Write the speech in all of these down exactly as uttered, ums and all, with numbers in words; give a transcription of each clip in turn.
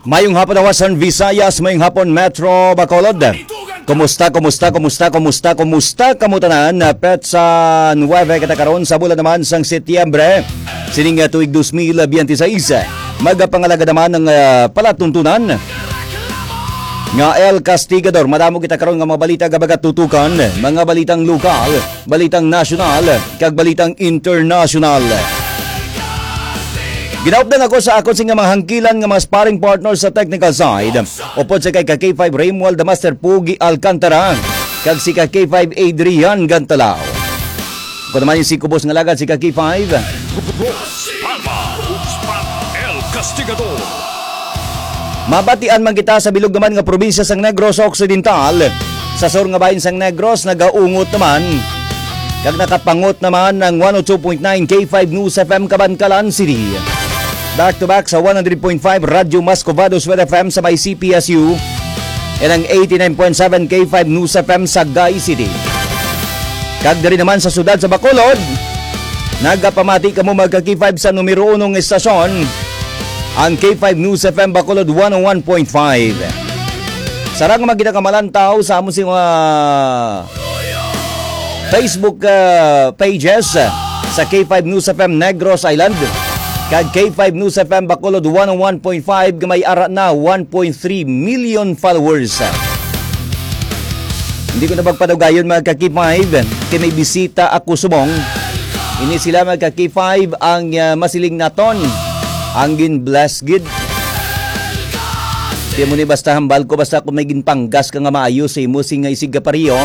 Mayong hapon, Western Visayas. Mayong hapon, Metro Bacolod. Kumusta, kumusta, kumusta, kumusta, kumusta kamo tanan? Petsa nuebe kita karon sa bulan naman sang Setyembre, sining, ah, tuig dos mil biyente seis. Magapangalaga naman ang, ah, palatuntunan nga El Castigador. Madamo kita karon nga mga balita nga magatutukan, mga balitang lokal, balitang nasyonal, kag balitang internasyonal. Ginaupdan ako sa akon sing mga hangkilan nga mga sparring partner sa technical side. Upod sa kay ka K five Raymuald the Master Pugi Alcantara, kag si ka K five Adrian Gantalao. Ako naman yung si Kubos nga lagad, si ka K five. Rose Palma, Rose Palma, El Castigador. Mabatian man kita sa bilog naman nga probinsya sang Negros Occidental, sa sur nga bahin sang Negros, nagaungot naman kag nakapangot naman ang one oh two point nine K five News F M Kabankalan City. Back to back sa one hundred point five Radyo Mas Covado Sued F M sa may C P S U, and ang eighty-nine point seven K five News F M sa Sagay City. Kag diri naman sa siyudad sa Bacolod, nagapamati kamo, mga ka K five, sa numero uno nga estasyon, ang K five News F M Bacolod one oh one point five. Sarang mga ginakamalantaw sa amon sing mga Facebook, ah, pages, ah, sa K five News F M Negros Island kag K five News F M Bacolod one oh one point five, nga may ara na one point three million followers. Hindi ko na pagpadugayon, mga ka K five, kay may bisita ako subong. Ini sila, mga ka K five, ang, ah, masiling naton, ang gin-bless gid. Di mo ni basta hambal ko, basta kung may ginpanggas ka nga maayo sa imo, sing nga isig ka pariyo,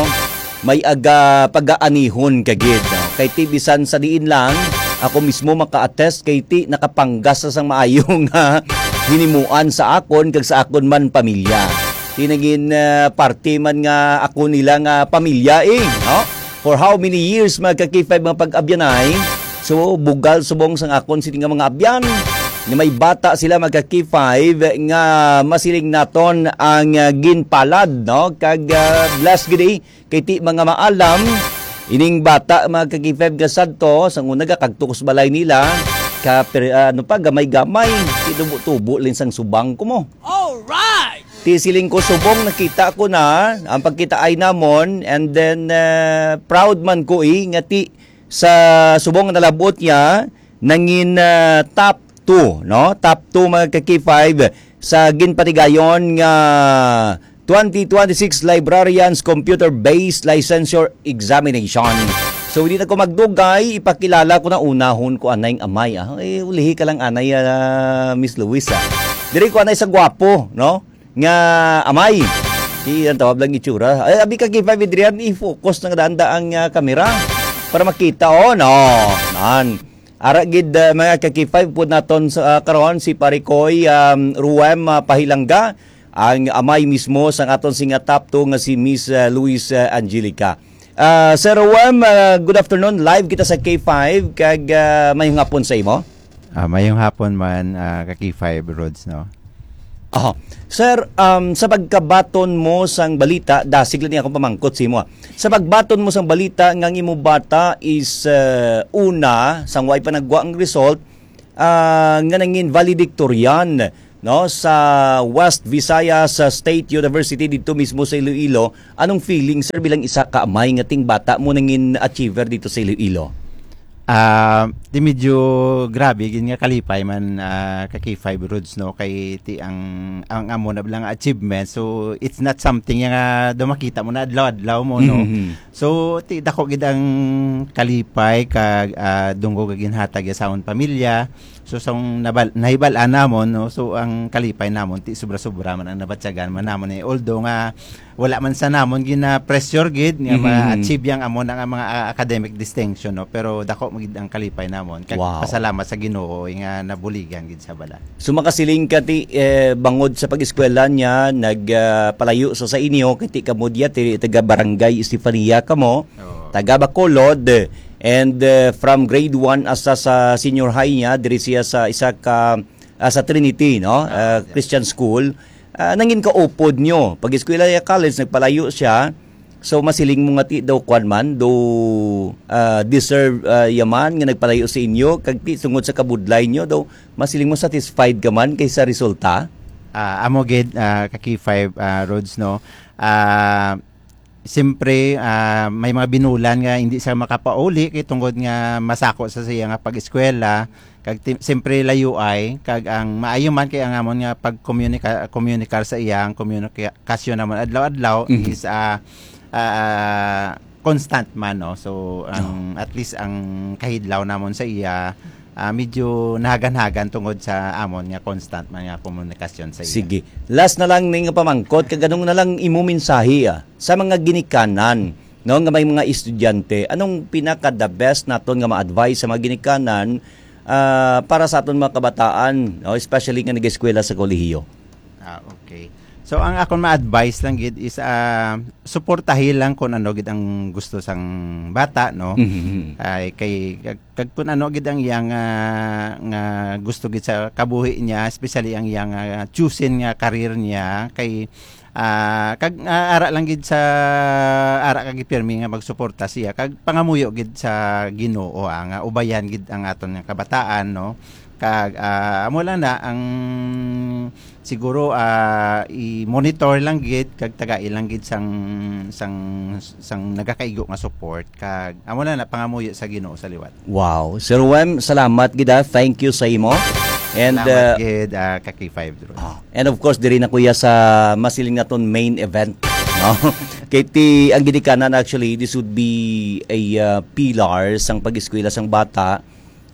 may aga pagaanihon ka gid. Kay ti bisan sa diin lang, ako mismo maka-attest kay ti nakapanggas sa sang maayo nga hinimuan sa akon kag sa akon man pamilya. Ti nagin, ah, parte man nga ako nila nga pamilya, eh, no? For how many years, mga ka K five, mga pag-abyanay? So, bugal subong sang akon sini nga mga abyan nga may bata sila, mga ka K five, nga masiling naton ang, ah, ginpalad, no? Kag, ah, blessed gid, eh, kay ti mga maalam ining bata, mga ka K five, nga sadto sang una gakagtukos balay nila, ka per-, ah, ano pa, gamay-gamay, ti tubo-tubo lang sang subong ko mo. Alright! Ti siling ko, subong nakita ko na ang pagkitaay namon, and then, ah, proud man ko, eh, nga ti sa subong nga nalabot niya, nangin, ah, top two, no? Top two, mga ka K five, sa ginpatigayon nga twenty twenty-six Librarians Computer-Based Licensure Examination. So, hindi na ko magdugay, ipakilala ko na unahon ko anay nga amay, ah. Eh, ulihi ka lang anay, ah, Miss Luis, ah. Diri ko anay sa gwapo, no? Nga amay. Di ang tawag lang itsura. Ay, abi ka, K five Adrian, i-focus na nga daan-daan ang, ah, kamera para makita. Oh, no. Nan. Ara gid, ah, mga ka K five, pud naton sa, ah, karon si Pare Koy, um, Ruem, ah, Pahilangga, ang amay mismo sang aton sing nga top two nga si Miss, ah, Luis, ah, Angelica. Ah, Sir Ruem, ah, good afternoon. Live kita sa K five, kag, ah, mayong hapon sa imo. Ah, mayong hapon man, ah, ka K five Rods, no? Aha. Sir, um, sa pagkabaton mo sang balita, dasig lang akong pamangkot sa imo, ah. Sa pagbaton mo sang balita nga ang imo bata is, uh, una, sang way pa nagwa ang result, ah, nga nangin valedictorian, no, sa West Visayas, sa State University dito mismo sa Iloilo, anong feeling, sir, bilang isa ka amay nga ting bata mo nangin achiever dito sa Iloilo? Ah, di medyo grabe gid nga kalipay man, ah, ka K five Rods, no, kay ti ang, ang amo na lang achievement, so it's not something nga daw makita mo na adlaw-adlaw mo, no. Mhm. So ti dako gid ang kalipay kag, ah, dungog nga ginhatag ya sa amon pamilya. So sa nabal-, nahibal-an namon, no, so ang kalipay namon ti sobra-sobra man ang nabatyagan man namon, eh, although nga wala man sa namon gina-pressure gid nga Mhm. ma-achieve yang amo na nga mga, ah, academic distinction, no? Pero dako mo gid ang kalipay namon. Kag Wow. pasalamat sa Ginoo, eh, nga nabuligan gid sa bala. So, makasiling ka ti, eh, bangod sa pag-eskwela niya, nag, ah, palayo sa, sa inyo, kay ti kamo diya, ti, taga Barangay Estefania kamo, Oo. taga Bacolod, and, eh, from grade one hasta sa senior high niya, diri siya sa isa ka, ah, sa Trinity, no? Ah, Ah, yes. Christian School. Ah, nangin kaupod nyo. Pag-eskwela niya college, nagpalayo siya. So, masiling mo nga ti daw kwan man, do, ah, deserve, ah, yaman nga nagpalayo sa inyo, kag ti tungod sa kabudlay nyo, daw masiling mo satisfied ka man kay sa resulta? Ah, amo gid, ah, ka K five, ah, Rods, no? Ah, siyempre, ah, may mga binulan nga hindi siya makapauli kay tungod nga masako sa siya nga pag-eskwela, kag ti-, siyempre layo ay, kag ang maayo man kay ang amon nga pagkomunika-, komunikar sa iya, ang komunikasyon namon adlaw-adlaw Mhm. is, ah, ah, constant man, no? So, ang, Oh. at least ang kahidlaw namon sa iya, ah, medyo nahagan-hagan tungod sa amon nga constant man nga komunikasyon sa iya. Sige. Last na lang ning pamangkot, kag anong na lang imo mensahe, ah, sa mga ginikanan, no, nga may mga estudyante? Anong pinaka the best naton nga ma-advise sa mga ginikanan, ah, para sa aton mga kabataan, no, especially nga nag-eskwela sa kolehiyo? Ah, okay. So, ang akon ma-advise lang gid is, ah, suportahi lang kung ano gid ang gusto sang bata, no? Mhm. Ay, kay, kag, kag kung ano gid ang iyang, ah, nga gusto gid sa kabuhi niya, especially ang iyang, ah, chosen nga career niya, kay, ah, kag, ah, ara lang gid sa, ara ka gid pirmi nga magsuporta siya, kag pangamuyo gid sa Ginoo, ah, nga ubayan gid ang aton nga kabataan, no? Kag, ah, amo lang na ang siguro, ah, i-monitor lang gid kag tagai lang gid sang, sang, sang nagakaigo nga support, kag amo lang na pangamuyo sa Ginoo sa liwat. Wow. Sir Wem, salamat gid, ah. Thank you sa imo. And, Salamat uh, gid, ah, ka K five, Drew. Ah, and of course, diri na kuya sa masiling naton main event, no? Kay ti ang ginikanan, actually, this would be a, uh, pillar sang pag-eskwela sang bata.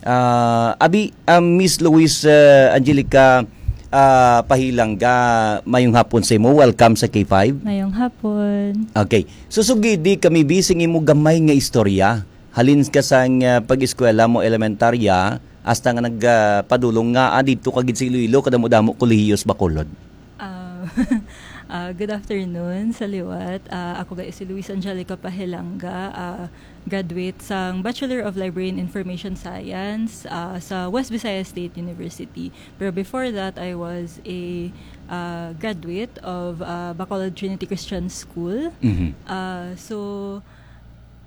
Ah, abi, ah, Miss Luis, ah, Angelica, ah, Pahilangga, mayong hapon sa imo. Welcome sa K five. Mayong hapon. Okay. So, sugidi kami, bi, sing imo gamay nga istorya. Halin ka sang, ah, pag-eskwela mo elementarya, hasta nga nag, ah, padulong nga, ah, didto ka gid sa Iloilo, kadamo-damo kolehiyo sa Bacolod. Ah, ah, good afternoon sa liwat. Ah, ako ga si Luis Angelica Pahilanga, ah, graduate sang Bachelor of Library and Information Science, ah, sa West Visayas State University. Pero before that, I was a, ah, graduate of, ah, Bacolod Trinity Christian School. Mhm. Ah, so,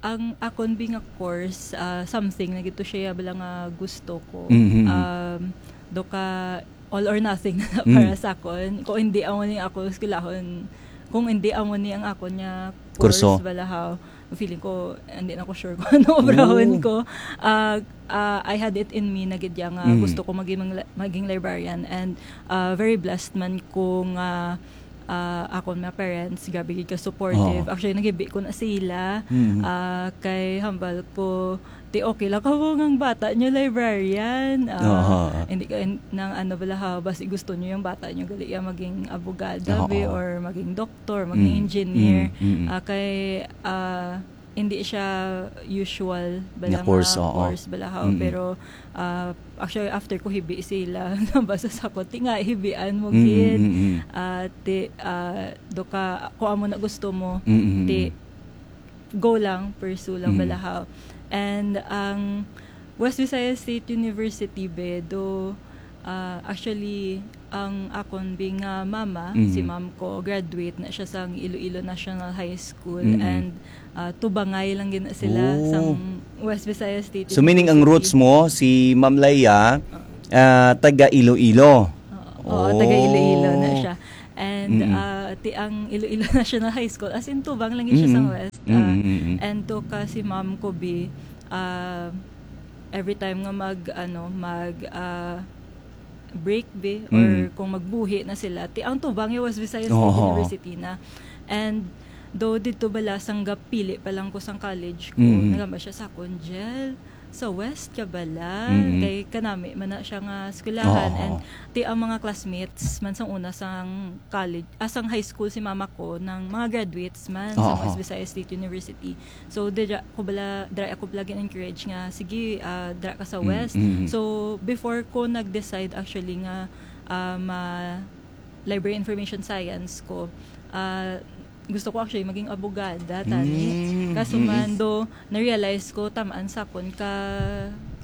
ang akon bi nga course, ah, something na gito siya bala nga gusto ko. Mhm. Um, do ka all or nothing na Mm. para sa akon. Kung hindi amo ni ako eskwelahon, kung hindi amo ni ang akon nga Kurso. Course, bala, how, feeling ko, hindi na ko sure kung ano obrahon Oo. ko. Ah, ah, I had it in me na gid ya nga Mm. gusto ko maging, maging librarian, and, ah, very blessed man ko nga, ah, akon mga parents, grabe gid ka supportive. Oo. Actually, naghibi ko na sila. Mm. Ah, kay hambal ko, ti okay lang ka mo ngang bata nyo librarian. Ah, Oo. hindi ka, in-, nang ano bala ha, basi gusto nyo yung bata nyo gali ya maging abogado, Oo. be, or maging doktor, maging Mm. engineer. Mm, mm, mm. Ah, kay, ah, hindi siya usual bala Nga nga course, oo. Course bala ha, Mm, mm. Pero, ah, actually, after ko hibi sila, nabasa sa ko, ti nga hibian mo Mm, gid. Mm, mm. Ah, ti, ah, do ka, kung amo na gusto mo, Mm, mm, ti, mm. Go lang, pursue lang Mm. bala ha. And ang West Visayas State University, be, do, ah, actually, ang akon bi nga mama, Mm. si ma'am ko, graduate na siya sang Iloilo National High School, Mm. and, ah, tubangay lang gid na sila Oh. sang West Visayas State So, meaning ang University. Roots mo, si Ma'am Leia, Oo. ah, taga Iloilo? Oo, oo, taga Iloilo na Oh. siya. And, Mm-mm. ah, ti ang Iloilo National High School, as in, tubang lang gid siya sang Mm-mm. West, ah, Mm-mm, mm-mm. and to ka si ma'am ko bi, ah, every time nga mag, ano, mag, ah, break bi, or Mm. kung magbuhi na sila, ti ang tubang yung West Visayas State Oo. University na. And though dito bala, sang gapili pa lang ko sang college ko, Mm-mm. nagamba siya sa akon, "Jel, sa West ka bala?" Mm-mm. Kay kanami man na siya nga eskwelahan. Oo. And ti ang mga classmates man sang una sang college, ah, sang high school si mama ko, nang mga graduates man sa Oo. West Visayas State University. So, dira ko bala, dira ako bala gin-encourage nga, "Sige, ah, dira ka sa Mm, West." Mm. So, before ko nag-decide actually nga, ah, ma-, library information science ko, ah, gusto ko actually maging abogada, tani. Mm, Kaso mm. man, do, na-realize ko, tamaan sa akon ka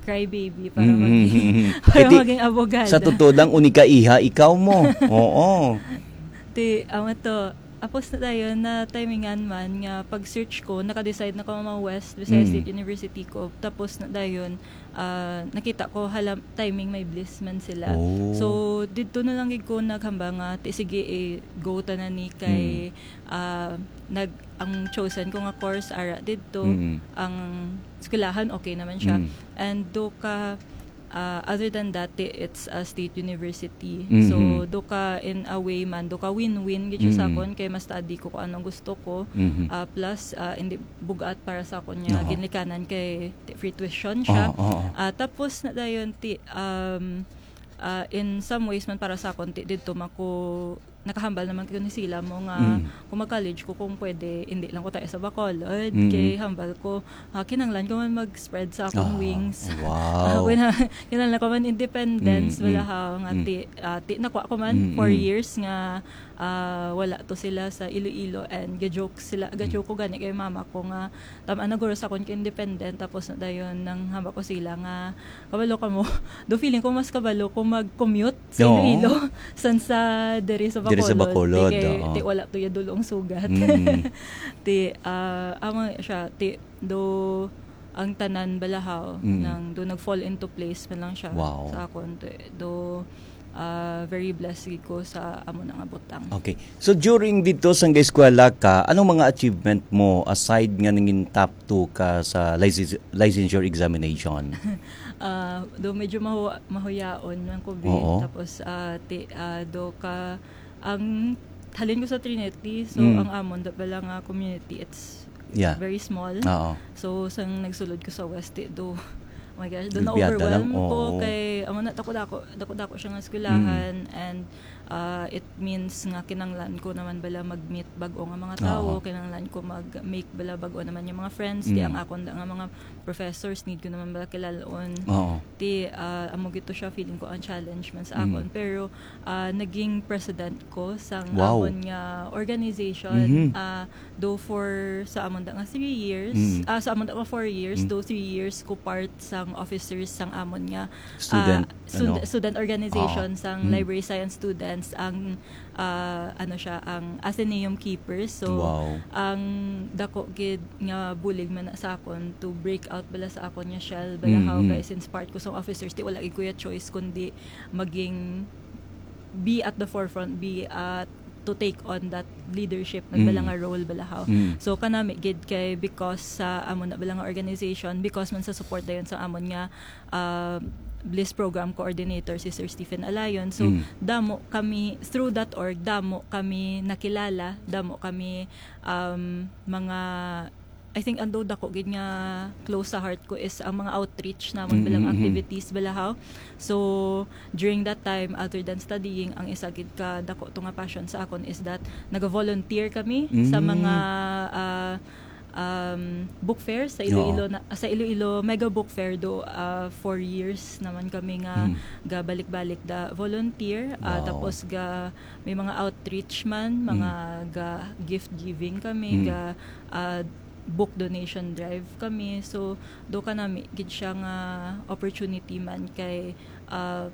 crybaby para Mm, maging, mm, mm. para Eh, di, maging abogada. Sa totoo lang, unika iha, ikaw mo. Oo. Ti, amo to, Tapos na dayon, na timingan man nga pag-search ko, naka-decide na ko ma-West Visayas Mm. State University ko. Tapos na dayon, ah, nakita ko, hala, timing may bliss man sila. Oh. So, didto na lang gid ko naghambal nga, ti, sige, eh, go ta na ni kay, ah, nag, ang chosen ko nga course, ara didto, Mm. ang eskwelahan, okay naman siya. Mm. And do ka, ah, other than that, ti, it's a state university. Mhm. So, do ka, in a way man, do ka win-win gid siya sa Mm. akon, kay ma-study ko kung anong gusto ko. Mhm. Ah, plus, ah, hindi bugat para sa akon nga Oo. ginikanan kay ti-, free tuition siya. Oo, oo. Ah, tapos na dayon, ti, um, ah, in some ways man para sa akon, ti, didto man ko nakahambal naman ko ni sila mo nga Mm. kung mag-college ko, kung pwede, hindi lang ko tayo sa Bacolod. Mm. Kay hambal ko, ah, kinahanglan ko man mag-spread sa akong Ah, wings. wow. Ah, when, kinahanglan ko man independence, Mm, wala mm, ha, nga mm. ti, ah, ti, nakuha ko man Mm, four mm. years nga, ah, wala to sila sa Iloilo, and ga-joke sila, ga-joke ko gani kay mama ko nga, tama na guro sa akon ka independent, tapos na dayon nang hamba ko sila nga, kabalo ka mo, do feeling ko mas kabalo ko mag-commute sa Oo. Iloilo, san sa diri sa Diri sa Bacolod. Bacolod, Ti kay, oo. ti wala to ya dulong sugat. Mm. Ti, ah, amo siya, ti, do, ang tanan balahaw, Mm. nang do nag-fall into place man lang siya Wow. sa akon. Ti, do, ah, very blessed gid ko sa amo na nga butang. Okay. So during dito sa eskwela ka, anong mga achievement mo aside nga nangin top two ka sa license, licensure examination? Ah, do medyo mahu-, mahuyaon man ko, bi. Oo. Tapos, ah, ti, ah, do ka, ang halin ko sa Trinity, so Mm. ang amon da pala nga community, it's Yeah. very small. Oo. So, sang nagsulod ko sa West, ti, do, oh my gosh, do Nagbiada lang, na-overwhelm ko oo. kay, amo na, dako-dako, dako-dako siya nga eskwelahan, and, ah, it means nga kinanglan ko naman bala mag-meet bag-o nga mga tawo, Oo. kinanglan ko mag-make bala bag-o naman yung mga friends, ti Mm. ang akon da nga mga professors, need ko naman bala kilalaon. Oo. Ti, ah, amo gito siya, feeling ko ang challenge man sa Mm. akon. Pero, ah, naging president ko sang Wow. amon nga organization, Mhm. ah, do for sa amon da nga three years, Mm. ah, sa amon da nga four years, Mm. do three years ko part sang officers sang amon nga, Student, ah, stud-, ano? student organization Oo. sang Mm. library science students, ang, ah, ano siya, ang Athenaeum Keepers. So, Wow. ang dako gid nga bulig man na sa akon to break out bala sa akon nga shell, bala Mm, how mm. kay since part ko sang officers, ti wala gid ko ya choice kundi maging, be at the forefront, be at, to take on that leadership man bala Mm. nga role bala how. Mm. So kanami gid kay because sa amo na bala nga organization, because man sa support dayon sa amon nga, ah, Bliss Program Coordinator si Sir Stephen Alayon. So Mm. damo kami through that org, damo kami nakilala, damo kami, um, mga, I think ang do dako gid nga close sa heart ko is ang mga outreach namon Mm, bilang mm, mm. activities bala how. So during that time, other than studying, ang isa gid ka dako to nga passion sa akon is that naga-volunteer kami sa Mm. mga, ah, um, book fair sa Iloilo Oo. na, sa Iloilo Mega Book Fair do, ah, four years naman kami nga Mm. gabalik-balik da volunteer, ah, Wow. tapos ga may mga outreach man, mga Mm. ga gift giving kami, Mm. ga, ah, book donation drive kami. So do kanami gid siya nga opportunity man kay, ah,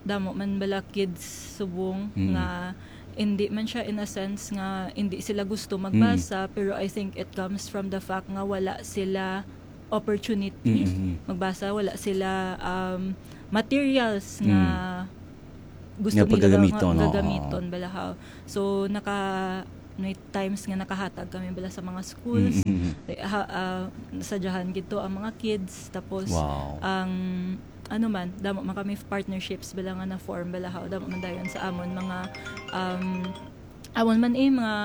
damo man bala kids subong Mm. nga hindi man siya in a sense nga hindi sila gusto magbasa, pero I think it comes from the fact nga wala sila opportunity Mm, mm. magbasa, wala sila, um, materials nga Mm. gusto Nga nila pagagamiton, nga oo. gagamiton bala how. So naka may times nga nakahatag kami bala sa mga schools. Mm, mm, mm. Ha, ah, sadyahan gid to ang mga kids, tapos Wow. ang ano man, damo man kami partnerships bala nga na-form bala how, damo man dayon sa amon mga, um, amon man, eh, mga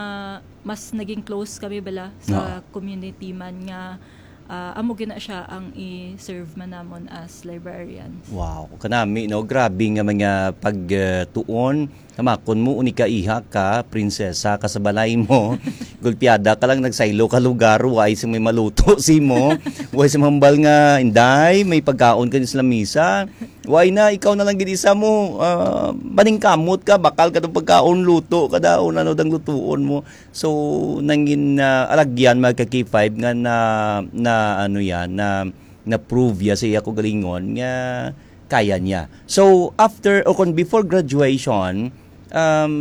mas naging close kami bala sa Oo. community man nga, ah, amo gina siya ang i-serve man namon as librarians. Wow, kanami, no? Grabe nga mga pagtuon. Kamakon mo, uni ka iha ka, prinsesa ka sa balay mo. Gulpiada ka lang, nagsaylo ka lugar, way sa may maluto si mo. Way sa mambal nga, inday, may pagkaon ka sa lamisa. Way na, ikaw na lang gid isa mo, ah, maningkamot ka, bakal ka tong pagkaon, luto ka daw, ano dang lutuon mo. So, nangin, ah, alagyan, mga ka K five, nga na, na, ano yan, na, na-prove ya sa iya kaugalingon nga kaya niya. So, after, o kung before graduation, Um,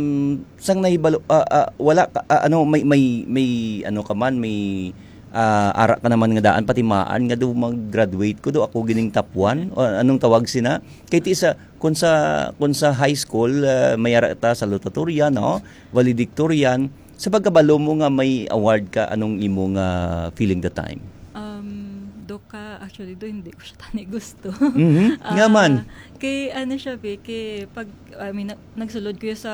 sang nahibalo, ah, ah, wala ka, ah, ano, may, may, may, ano ka man, may, ah, ara ka naman nga daan, patimaan nga do mag-graduate ko, do ako gining top one, o anong tawag sina? Kay ti sa, kung sa, kung sa high school, ah, may ara ta salutatorian, no? Valedictorian. Sa pagkabalo mo nga may award ka, anong imo nga feeling the time? Um, do ka, actually, do, hindi ko siya tani gusto. Mhm. Nga Ah, man. Kay, ano siya, be, kay pag, I mean, na-, nagsulod ko sa,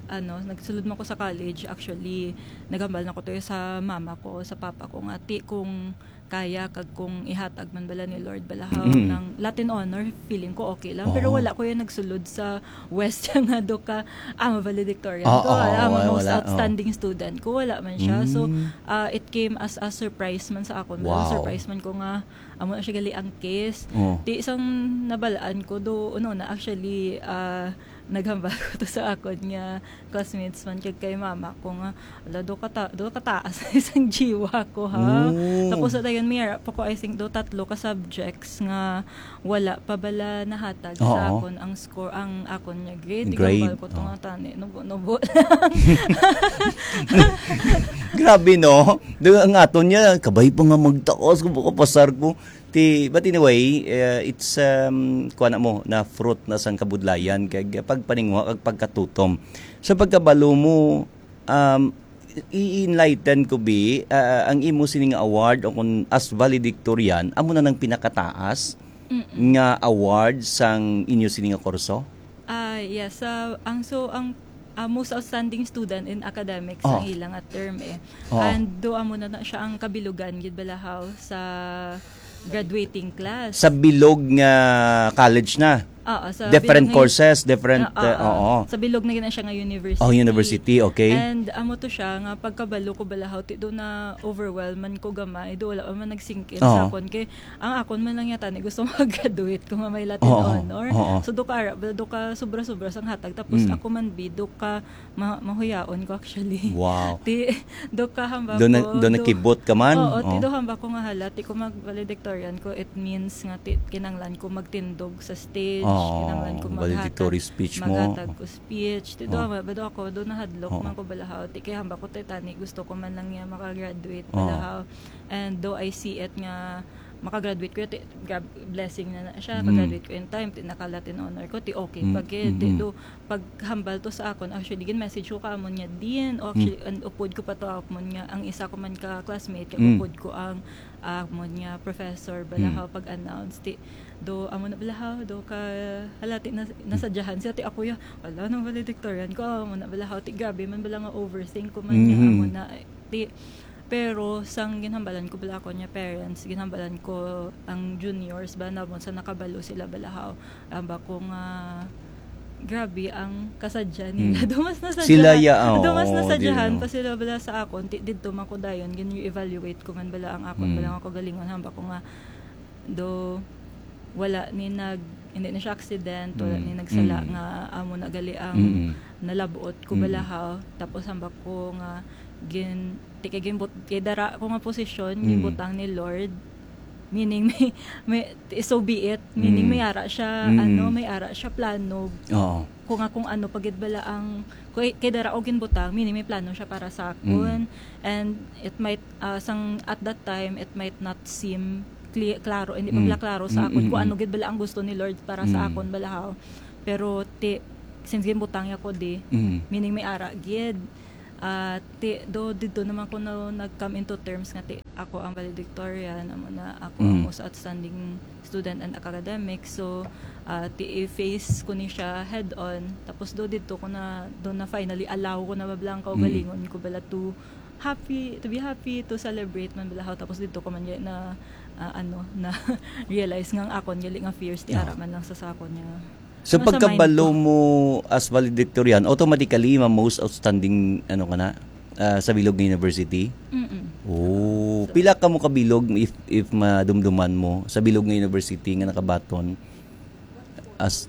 ano, nagsulod man ko sa college, actually, nagambal na ko to sa mama ko, sa papa ko, nga, ti, kung kaya, kag kung ihatag man bala ni Lord balahaw Mm. ng Latin honor, feeling ko okay lang. Pero Oo. wala ko yung nagsulod sa West nga do ka, ah, valedictorian Ah, ko, oo, ah, wala, most wala, oo. outstanding student ko, wala man siya. So, Mm. ah, it came as a surprise man sa akon. Wow. Surprise man ko nga, amo na siya gali ang case. Oh. Ti isang nabalaan ko do, ano na, actually, ah, naghambal ko to sa akon nga classmates man kag kay mama ko nga, "Ala, do kata-, do kataas na isang jiwa ko, ha?" Oh. Tapos sa dayon, may ara pa ko, I think, do tatlo ka subjects nga wala pa bala nahatag sa Oo. akon ang score, ang akon nga grade. Grade, Gambal ko to oh. nga tani, nubo-nubo lang. Grabe, no? Do ang aton niya, kabay pa nga magtaas ko, baka pasar ko. Ti, but anyway, eh, it's, um, kuha na mo, na fruit na sang kabudlayan, kag pagpaninguha, kag pagkatutom. Sa pagkabalo mo, um, i-enlighten ko, bi, ah, ang imo sining award o kung as valedictorian, amo na nang pinakataas Mm-mm. nga award sang inyo sini nga kurso? Ah, yes. Sa, ang, so, ang, ah, most outstanding student in academics Oh. ang ila nga term, eh. Oh. And do amo na, na siya ang kabilugan gid balahaw sa graduating class. Sa bilog nga college na? Oo, sa Different bilog nga courses, different, Oo, uh, oo. oo. Sa bilog na gina siya nga university. Oh, university, okay. And amo to siya nga pagkabalo ko balahaw, ti do na overwhelm man ko gamay, do wala pa man nag-sink in Oo. sa akon. Kay ang akon man lang yata ni gusto mag-graduate ko nga may Latin Oo, honor. oo. So, do ka ara, do ka sobra-sobra sang hatag. Tapos Mm. ako man, bi, do ka ma-, mahuyaon ko actually. Wow. Ti, do ka hamba Do na, ko, do do nakibot ka man? Oo, ti Oh. do hamba ko nga hala, ti ko mag-valedictorian ko, it means nga ti, kinanglan ko magtindog sa stage, Oo, kinanglan ko maghatag, valedictory speech mo. maghatag ko speech. Ti do Oh. hamba, do ako, do nahadlok Oh. man ko balahaw. Ti kay hamba ko ti tani, gusto ko man lang nga makagraduate Oh. balahaw. And do I see it nga makagraduate ko, ti, grab, blessing na na siya, Mm. pag-graduate ko in time, ti naka Latin honor ko, ti okay Mm, pa gid, ti mm, mm. do, paghambal to sa akon, actually, gin-message ko ka amon nga din, o actually, Mm. and upod ko pa to amon nga, ang isa ko man ka classmate, kay Mm. upod ko ang, ah, amon nga professor, bala Mm. ka pag-announce, ti, do, amo na bala ka, do ka, hala, ti, nas-, Mm. nasadyahan siya, ti ako ya, ala, nang valedictorian ko, amo na bala ka, ti, grabe man bala nga overthink ko man nga, Mm. amo na, ti, pero sang ginhambalan ko bala ako niya parents, ginhambalan ko ang juniors ba na sa nakabalo sila bala haw. Amba ko nga, grabe ang kasadya nila. Mm. Dumas na Sila sadyahan. ya, Dumas na oo, di, sadyahan no. pa sila bala sa akon. Ti-, didto man ko dayon, gin-re-evaluate ko man bala ang akon, Mm. bala nga kagalingon. Hamba ko nga, do, wala ni nag-, hindi na siya accident, wala Mm. ni nagsala Mm. nga amo na gali ang Mm. nalabot ko Mm. bala haw. Tapos hamba ko nga gin-, ti kay ginbut-, kay dara ko nga posisyon, Mm. ginbutang ni Lord. Meaning, may, may, so be it. Meaning, Mm. may ara siya, Mm. ano, may ara siya plano. Oo. Kung nga, kung ano, pagid bala ang, kay, kay dara ko ginbutang, meaning may plano siya para sa Mm. akon. And it might, ah, sang, at that time, it might not seem clear, klaro, hindi pa Mm. bala klaro sa Mm, akon mm, kung mm. ano gid bala ang gusto ni Lord para sa Mm. akon bala haw. Pero ti, since ginbutang niya ko di, Mm. meaning may ara gid. Ah, ti, do, didto naman ko na nag-come into terms nga ti, ako ang valedictorian, amo na, ako ang Mm. most outstanding student and academic. So, ah, ti, i-face ko ni siya head-on. Tapos do, didto ko na, do na finally allow ko na mablang Mm. kaugalingon ko bala to happy, to be happy, to celebrate man bala haw. Tapos didto ko man gali na, ah, ano, na realize nga ang akon gali nga fears, ti Oh. ara man lang sa sakon niya. So, Nasa mind pagkabalo ko. mo as valedictorian, automatically, ma-, most outstanding, ano ka na, ah, sa bilog nga university? Mm-mm. Oh, pila ka mo kabilog if, if madumduman mo sa bilog nga university nga nakabaton? As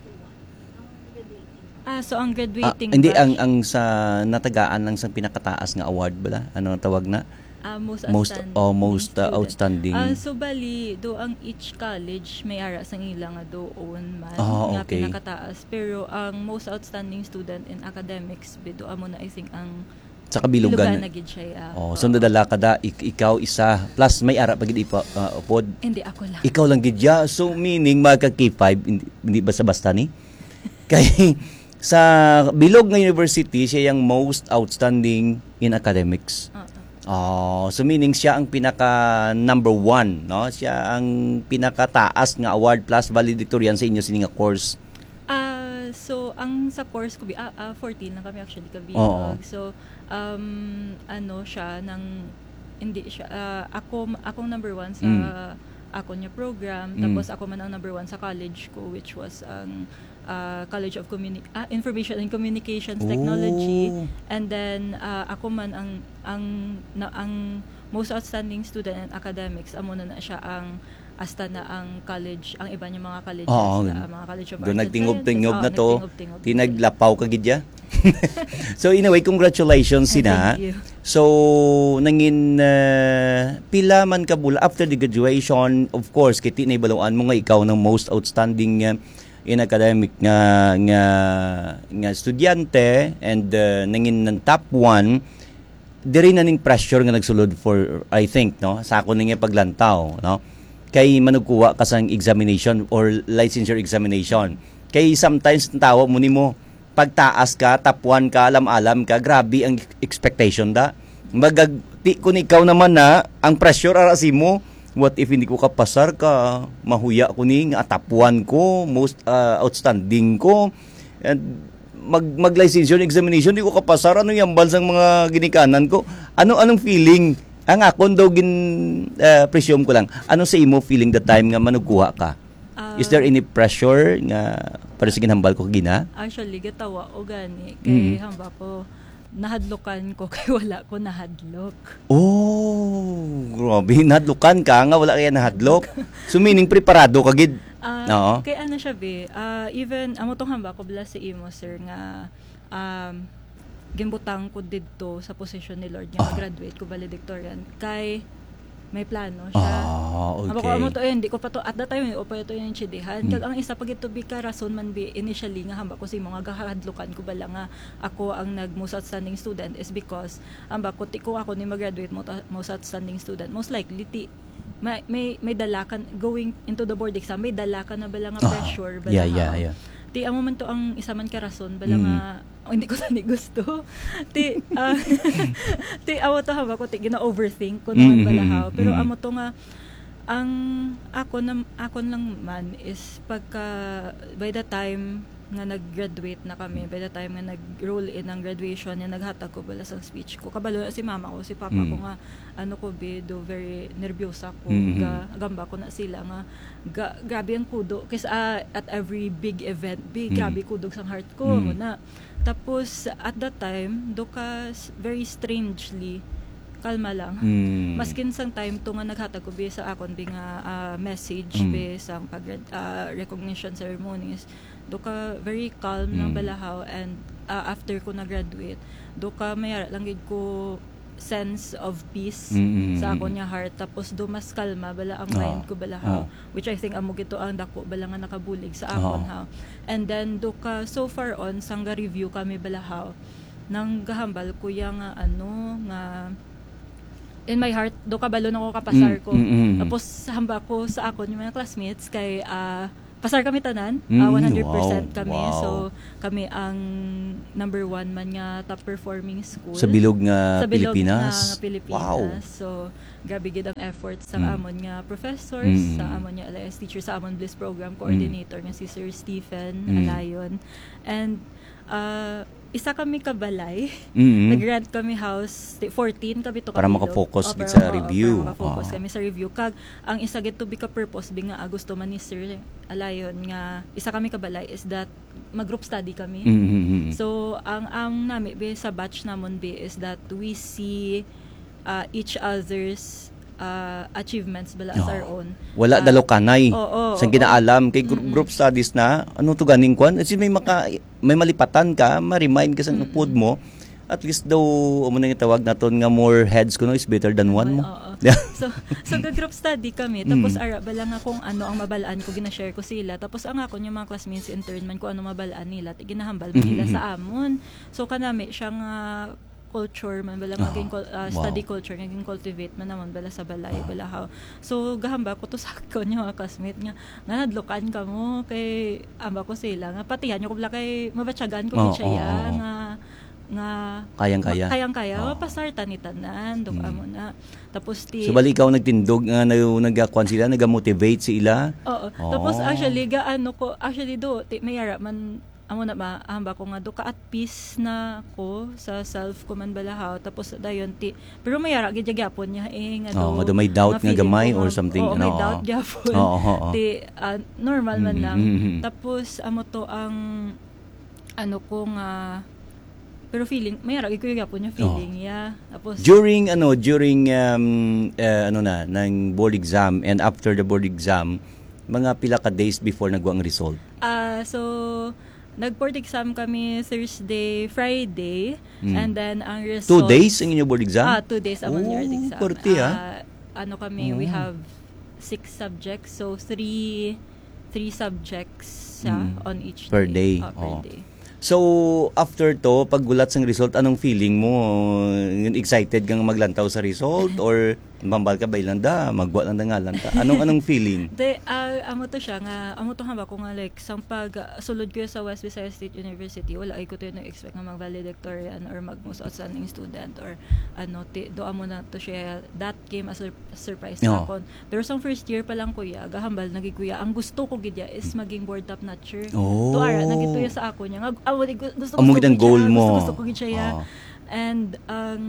Ah, so ang Ah, graduating hindi, ang, batch? ang sa natagaan lang sa pinakataas nga award bala? Ano ang tawag na? Ah, most Most, outstanding oh, most, uh, student. outstanding. Ah, so bali, do ang each college may ara sang ila nga doon man Ah, nga okay. pinakataas, pero ang most outstanding student in academics, bido amo na, I think, ang Sa Kabilugan. Bilugan na gid siya, yeah. Oh, so Oo. nadala ka da, ik-, ikaw isa, plus may ara pa gid ipa, ah, upod. Hindi, ako lang. Ikaw lang gid ya. So, meaning, mga ka K five, hindi, hindi basta-basta ni? Kay, sa bilog nga university, siya yung most outstanding in academics. Oo. Oh, so meaning siya ang pinaka number one, no? Siya ang pinakataas nga award plus valedictorian sa inyo sini nga course. Ah, so, ang sa course ko, bi-, ah, ah, fourteen lang kami actually, Oo. kabiag. So, um, ano siya, nang, hindi siya, ah, ako, akong number one sa Mm. akon nga program, Mm. tapos ako man ang number one sa college ko, which was ang, ah, College of Communi-, ah, Information and Communications Technology. Oh. And then, ah, ako man ang, ang, na, ang most outstanding student in academics, amo na na siya ang, hasta na ang college, ang iba niya mga colleges Oo. na, ang mga College of Doon Arts and nagtingob-tingob Sciences. na Oo, to. nagtingob-tingob. Di naglapaw ka gid ya? So, anyway, congratulations, Ay, Sina. thank you. So, nangin, ah, pila man ka bula after the graduation, of course, kiti na ibaluan mo nga ikaw ang most outstanding, ah, in academic nga, nga, nga estudyante and, ah, nangin ng top one, diri na ning pressure nga nagsulod for, I think, no? Sa ako ning paglantaw, no? Kay manugkuha ka sang examination or licensure examination. Kay sometimes, ang tawa mo nimo, pagtaas ka, top one ka, alam-alam ka, grabe ang expectation da. Magag-, ti-, kung ikaw naman na, ang pressure ara simo, what if hindi ko kapasar ka, mahuya ko ni, nga top one ko, most, ah, outstanding ko, and mag, mag-licensure examination, di ko kapasar, ano yung hambal sang mga ginikanan ko? Ano, anong feeling? Ang akon daw gin, ah, presume ko lang, ano sa imo feeling the time nga manugkuha ka? Ah. Is there any pressure nga para sa ginhambal ko kagina? Actually, gatawa o gani, kay Mm. hamba ko, nahadlokan ko kay wala ko nahadlok. Oh, grabe. Nahadlokan ka nga wala kaya nahadlok. So, meaning, preparado ka gid? Ah, Oo. kay ano siya, be? Ah, even, amo tong hamba ko bala sa imo, sir, nga, um, ginbutang ko didto sa position ni Lord nga Ah. graduate ko valedictorian. Kay may plano siya. Ah, Haba ko, okay. amo to, eh, hindi ko pa to, at that time, hindi ko pa to yung chidihan. Hmm. Kag ang isa pa gid to, bi, ka rason man, bi, initially nga hamba ko sa imo nga gahadlukan ko bala nga ako ang nag most outstanding student is because hamba ko, ti, kung ako ni mag-graduate mo ta-, most outstanding student, most likely, ti, may, may, may dala ka, going into the board exam, may dala ka na bala nga Ah, pressure, bala yeah, yeah, ha. yeah. Ti, amo man to ang isa man ka rason, bala Mm. nga, oh, hindi ko tani gusto. Ti, ah, ti, awa to, haba ko, ti, gina-overthink ko naman Mm, bala, mm, ha. Pero mm. amo to nga, ang ako nam-, akon lang man is pagka, by the time nga nag-graduate na kami, by the time nga nag-roll in ang graduation, nga naghatag ko bala sang speech ko, kabalo na si mama ko, si papa ko Mm. nga, ano ko, bi, do very nervyosa ko, Mm, mm. ga-, gamba ko na sila nga, ga-, grabe ang kudo. Kasi, ah, at every big event, bi, Mm. grabe kudog sang heart ko, Mm. na. Tapos, at that time, do ka s-, very strangely, kalma lang. Mm. Maskin sang time to nga naghatag ko, bi, sa akon, bi, nga, ah, message, Mm. bi, sang pag-, ah, recognition ceremonies, do ka very calm lang Mm. balahaw, and, ah, after ko na-graduate, do ka may ara lang gid ko sense of peace Mm, mm, sa mm. akon nga heart, tapos do mas kalma bala ang Oo. mind ko balahaw, Oo. which I think amo gid to ang dako bala nga nakabulig sa akon, Oo. ha. And then do ka, so far on, sang ga-review kami balahaw, nang gahambal ko ya nga, ano, nga in my heart, do kabalo na ko kapasar Mm, ko. mm, mm, mm. Tapos hamba ko sa akon yung mga classmates kay, ah, pasar kami tanan, Mm, ah, one hundred percent wow, kami. wow. So, kami ang number one man nga top performing school. Sa bilog nga Sa bilog Pilipinas? nga, nga Pilipinas. Wow. So, grabe gid ang effort sa Mm. amon nga professors, Mm. sa amon nga L I S teachers, sa amon Bliss program Mm. coordinator nga si Sir Stephen Mm. Alayon. And, ah, isa kami ka balay. Mm. Nag-rent kami house, ti-, fourteen kami to Para kami, no? makafocus Oh, gid para sa maka-, review. para makafocus Oo. kami sa review. Kag ang isa gid to bi ka purpose bi nga, ah, gusto man ni Sir Alayon nga isa kami ka balay is that mag-group study kami. Mm, mm, mm. So, ang, ang nami bi sa batch namon bi is that we see, ah, each other's, ah, achievements bala as Oo. our own. Wala Ah, dalukanay. oo, Sang oo. ginaalam kay gr-, Mm-mm. group studies na, ano to ganing kwan? Kasi may maka-, may malipatan ka, ma-remind ka sa Mm-mm. upod mo. At least daw, amo na yung tawag naton nga, more heads kuno is better than one mo. Oo. Yeah. So, so ga-group study kami. Mm. Tapos ara bala nga kung ano ang mabalaan ko, ginashare ko sila. Tapos ang akon yung mga classmates intern man kung ano mabalaan nila, ti ginahambal man nila Mhm, sa amon. So kanami siya nga culture man bala nga Aha. gin-cul- ah, Wow. study culture nga gin-cultivate man naman bala sa balay, Ah. bala how. So gahambal ko to sa akon yung mga classmate nga, nga nadlukan kamo kay amba ko sila nga patihan nyo ko bala kay mabatyagan ko Oo, gid siya oo, ya, oo. nga nga Kayang-kaya. ma- kayang-kaya, Oo. mapasar ta ni tanan, dok Mm. amo na. Tapos ti So, bali ikaw nagtindog nga nag- nagkuan sila, nagamotivate sa ila? Oo. Oh. Tapos actually, gaano ko, actually do, ti, may ara man, amo na ma, hamba ko nga do ka at peace na ko sa self ko man balahaw. Tapos dayon ti, pero may ara gid gyapon niya eh, nga Oo, do, nga do may doubt nga feeling gamay ko or nga, something, oo, may ano, doubt oo. gyapon. Oo, oo. Ti, ah, normal man Mm, lang. mm, mm. Tapos, amo to ang, ano ko nga, pero feeling, may ara gid ko gyapon yung Oo. feeling, yeah. Tapos, During, ano, during, um, eh, ano na, ng board exam and after the board exam, mga pila ka days before nagwa ang result? Ah, so, nag-board exam kami Thursday, Friday, Mm. and then ang result... Two days ang inyo board exam? Ah, two days ang Oh, board exam. pwerte, ah. Ah, ano kami, we Oh. have six subjects, so three three subjects siya Mm. on each Per day. day. Ah, per Oh. day. So, after to, paggulat sang result, anong feeling mo? Excited kang maglantaw sa result or mambal ka ba, "Ilanda, magwa lang na nga lang ta"? Anong, anong feeling? De, ah, amo to siya nga, amo to hamba ko nga, like, sang pag ah, sulod ko sa West Visayas State University, wala ay ko to nag-expect nga mag-valedictorian or mag most outstanding student or ano, ti, do amo na to siya, that came as a sur- surprise sa Oo. akon. Pero sang first year pa lang, kuya, gahambal na gid, kuya, ang gusto ko gid ya is maging board top notcher. Oh. To ara na gid to ya sa ako niya. Nga, ah, wala, gu- gusto, Amo gusto gid ang ko gid siya, goal mo. Gusto, gusto ko gid siya ya. Oo. And ang